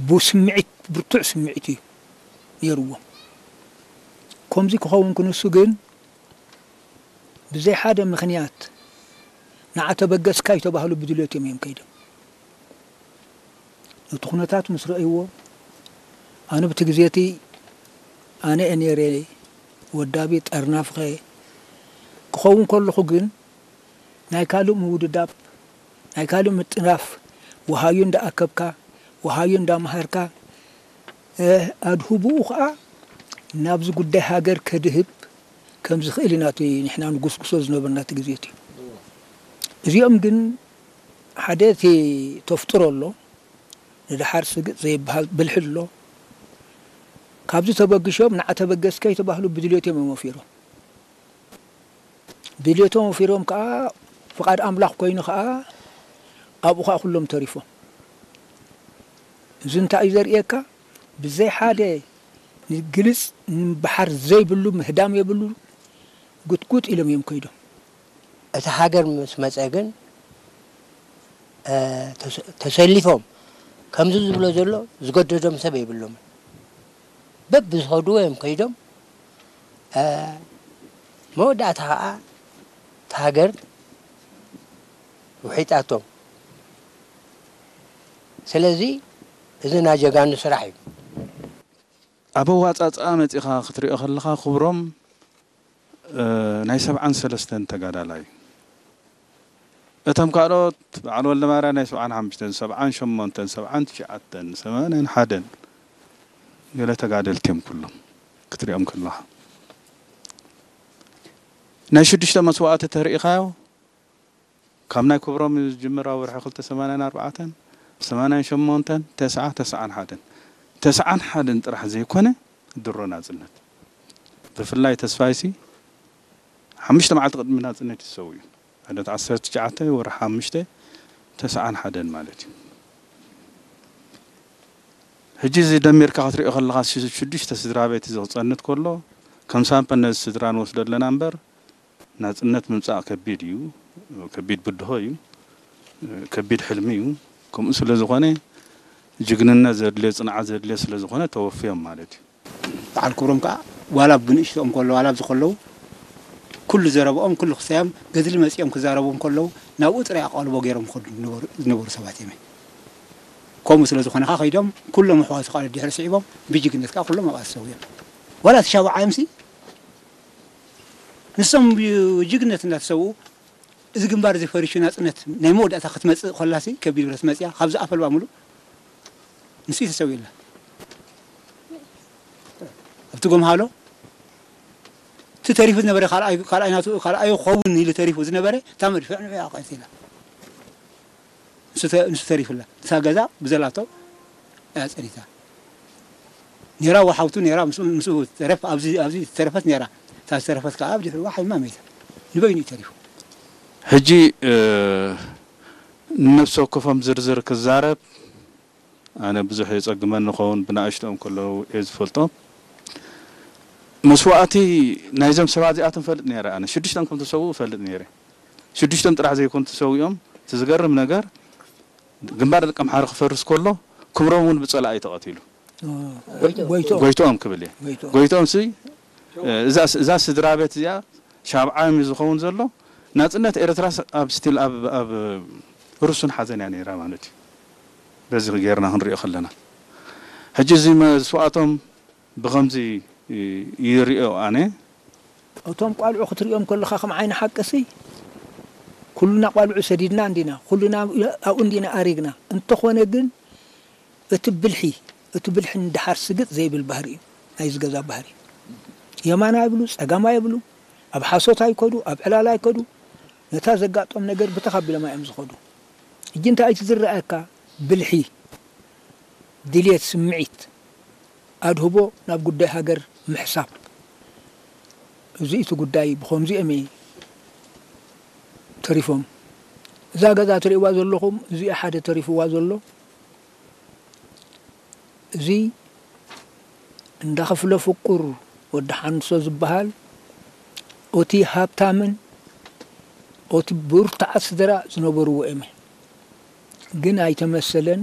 ብስምዒት፣ ብርቱዕ ስምዒት እዩ ነይርዎም። ከምዚ ክኸውን ክንሱ ግን ብዘይ ሓደ ምኽንያት ንዓ ተበገስካ ይተባህሉ ብድልዮት እዮም እዮም ከይዶም። ነቲ ኩነታት ምስ ረእይዎ፣ ኣነ ብቲ ግዜ እቲ ኣነ እየ ነይረ ወዳቢ ጠርናፍኸ። ክኸውን ከለኹ ግን ናይ ካልእ ምውድዳብ፣ ናይ ካልእ ምጥናፍ፣ ወሃዩ እንዳኣከብካ፣ ወሃዩ እንዳመሃርካ፣ ኣድህቦኡ ኸኣ ናብዚ ጉዳይ ሃገር ከድህብ ከም ዝኽእል ኢና እቲ ንሕና ንጉስጉሶ ዝነበርና እቲ ግዜ እቲ። እዚኦም ግን ሓደ እቲ ተፍጥሮ ኣሎ፣ ንደሓር ስግጥ ዘይበሃል ብልሒ ኣሎ። ካብዚ ተበግሾም ንዓ ተበገስካ ይተባህሉ ብድልዮቶም እዮም ወፊሮም። ድልየቶም ወፊሮም ከኣ ፍቓድ ኣምላኽ ኮይኑ ከኣ ኣብኡ ከኣ ኩሎም ተሪፎም። እዚ እንታይ እዩ ዘርእየካ? ብዘይ ሓደ ግልጽ ምብሓር ዘይብሉ ምህዳም የብሉ፣ ጉጥጉጥ ኢሎም እዮም ከይዶም። እቲ ሃገር ምስ መጸ ግን፣ እ፣ ተሰ-፣ ተሰሊፎም ከምዚ ዝብሎ ዘሎ ዝገደዶም ሰብ የብሎምን። በብዝኸድዎ እዮም ከይዶም። እ፣ መወዳእታ ኸዓ እታ ሃገር ውሒጣቶም። ስለዚ እዚ ናይ ጀጋኑ ስራሕ እዩ። ኣብ ኣዋጻጽኣ መጺኻ ክትሪኦ ከለኻ ክብሮም፣ እ፣ ናይ ሰብዓን ሰለስተን ተጋዳላይ። እቶም ካልኦት በዓል ወልደማርያም ናይ ሰብዓን ሓሙሽተን፣ ሰብዓን ሸሞንተን፣ ሰብዓን ትሽዓተን፣ ሰማንያን ሓደን ገለ ተጋደልቲ እዮም ኩሎም ክትሪኦም ከለኻ። ናይ ሽዱሽተ መስዋእቲ ተሪኢኻዮ፣ ካብ ናይ ክብሮም እዩ ዝጅምር፣ ኣብ ወርሒ ክልተ ሰማንያን ኣርባዕተን፣ ሰማንያን ሸሞንተን፣ ተስዓ፣ ተስዓን ሓደን። ተስዓን ሓደን ጥራሕ ዘይኮነ፣ ድሮ ናጽነት። ብፍላይ ተስፋይሲ ሓሙሽተ መዓልቲ ቅድሚ ናጽነት እዩ ዝሰውኡ። ዕለት ዓሰርተ ትሽዓተ ወርሒ ሓሙሽተ፣ ተስዓን ሓደን ማለት እዩ። ሕጂ እዚ ደሚርካ ክትሪኦ ከለኻ፣ ሽ-፣ ሽዱሽተ ስድራ ቤት እዚ ክጸንት ከሎ፣ ከም ሳምፕል ነዚ ስድራ ንወስዶ ኣለና እምበር፣ ናጽነት ምምጻእ ከቢድ እዩ፣ ከቢድ ብድሆ እዩ፣ ከቢድ ሕልሚ እዩ። ከምኡ ስለ ዝኾነ፣ ጅግንነት ዘድልዮ፣ ጽንዓት ዘድልዮ ስለ ዝኾነ ተወፍዮም ማለት እዩ። በዓል ክብሮም ከኣ ዋላ ብንእሽቶኦም ከለዉ፣ ዋላ ኣብዚ ከለዉ፣ ኩሉ ዘረብኦም፣ ኩሉ ክሳዮም ገድሊ መጺኦም ክዛረቡ እንከለዉ፣ ናብኡ ጥራይ ኣቓልቦ ገይሮም ክኸዱ ዝነበሩ፣ ዝነበሩ ሰባት እዮም። ከምኡ ስለ ዝኾነ ከኣ ከይዶም፣ ኩሎም ኣሕዋቱ ከኣ ድሕሪ ስዒቦም፣ ብጅግነት ከኣ ኩሎም ኣብኣ ተሰዊኦም። ዋላ እቲ ሻብዓይ እምሲ ንሶም ብጅግነት እንዳተሰውኡ፣ እዚ ግንባር እዚ ፈሪሹ ናጽነት ናይ መወዳእታ ክትመጽእ ከላሲ፣ ከቢድ ብረት መጽያ፣ ካብዚ ኣፈልባ ሙሉእ ንሱ እዩ ተሰዊኡላ። ኣብቲ ጎምሃሎ፣ እቲ ተሪፉ ዝነበረ ካልኣይ፣ ካልኣይ ናቱ፣ ካልኣዩ ክኸውን ኢሉ ተሪፉ ዝነበረ፣ እታ መድፍዕ ንዑ ኣቐቲላ። ንሱ ተ-፣ ንሱ ተሪፉላ። እታ ገዛ ብዘላቶ እያ ጸኒታ። ኔራ ወሓውቱ ኔራ፣ ምስኡ፣ ምስኡ ተረፍ፣ ኣብዚ፣ ኣብዚ ተረፈት ኔራ። እታ ዝተረፈት ከኣ ኣብ ድሕሪዋ ሓሚማ መይታ። ንበይኑ እዩ ተሪፉ። ሕጂ፣ እ፣ ንነፍሲ ወከፎም ዝርዝር ክዛረብ፣ ኣነ ብዙሕ የጸግመኒ ይኸውን፣ ብናእሽቶኦም ከለዉ እየ ዝፈልጦም። መስዋእቲ ናይዞም ሰባት እዚኣቶም እፈልጥ ነይረ ኣነ። ሽዱሽቶም ከም ተሰውኡ እፈልጥ ነይረ። ሽዱሽቶም ጥራሕ ዘይኮኑ ተሰዊኦም፣ እቲ ዝገርም ነገር፣ ግንባር ደቀምሓረ ክፈርስ ከሎ፣ ክብሮም እውን ብጸላኢ ተቐቲሉ። ኦ፣ ጎይትኦም። ጎይትኦም ክብል እየ። ጎይትኦም። ጎይትኦም ሲ፣ እዛ፣ እዛ ስድራ ቤት እዚኣ ሻብዓዮም እዩ ዝኸውን ዘሎ። ናጽነት ኤርትራ ኣብ ስቲል ኣብ፣ ኣብ ርሱን ሓዘን እያ ነይራ ማለት እዩ። በዚ ጌርና ክንሪኦ ከለና። ሕጂ እዚ መስዋእቶም ብኸምዚ ይሪኦ ኣነ። እቶም ቋልዑ ክትሪኦም ከለኻ ከም ዓይኒ ሓቅሲ ኩልና ቋልዑ ሰዲድና እንዲና፣ ኩልና ኣብኡ እንዲና ኣሪግና። እንተኾነ ግን እቲ ብልሒ፣ እቲ ብልሒ ንደሓር ስግጥ ዘይብል ባህሪ እዩ ናይዚ ገዛ ባህሪ። የማን ኣይብሉ፣ ጸጋም ኣይብሉ፣ ኣብ ሓሶት ኣይከዱ፣ ኣብ ዕላል ኣይከዱ። ነታ ዘጋጦም ነገር ብተኻቢሎም እዮም ዝኸዱ። ሕጂ እንታይ እቲ ዝረኣየካ? ብልሒ፣ ድልየት፣ ስምዒት፣ ኣድህቦ ናብ ጉዳይ ሃገር ምሕሳብ። እዚ እቲ ጉዳይ ብኸምዚኦም እዩ ተሪፎም። እዛ ገዛ ትርእይዋ ዘለኹም፣ እዚኣ ሓደ ተሪፍዋ ዘሎ። እዚ እንዳ ክፍለ ፍቁር ወዲ ሓንሶ ዝበሃል፣ ኦቲ ሃብታምን ኦቲ ብርቱዓት ስድራ ዝነበርዎ እመ። ግን ኣይተመሰለን።